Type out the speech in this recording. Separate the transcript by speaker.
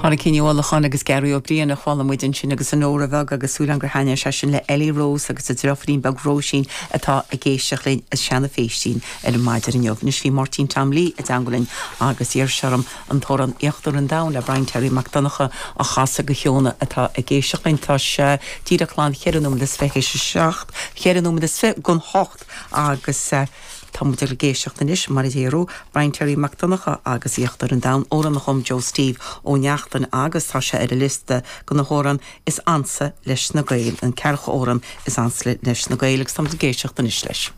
Speaker 1: Pádraicín Ní Uallacháin agus Gearaí Ó Briain a chuala muid ansin agus an Nóra Bheag agus súil agam gur thaitnigh sé sin le Ellie Rose agus a driofúirín beag Róisín atá ag éisteacht linn as Seanadh Phéistín ar an maidin inniu. Anois bhí Máirtín Tom Lee i dteangmháil linn agus d'iarr sé orm an t-amhrán Íochtar an Domhain le Brian Terry Mac Donncha a chasadh do Shióna atá ag éisteacht linn. Tá sé díreach glan cheithre nóiméad is théis a seacht, cheithre nóiméad is don hocht agus Tá muid ag éisteacht anois, mar a déarfá, Brian Terry Mac Donncha agus Íochtar an Domhain, amhrán a chum Joe Steve Ó Neachtain agus tá sé ar an liosta de na hamhráin is ansa leis na Gaeil, an ceathracha amhrán is ansa leis na Gaeil agus tá muid ag éisteacht anois leis.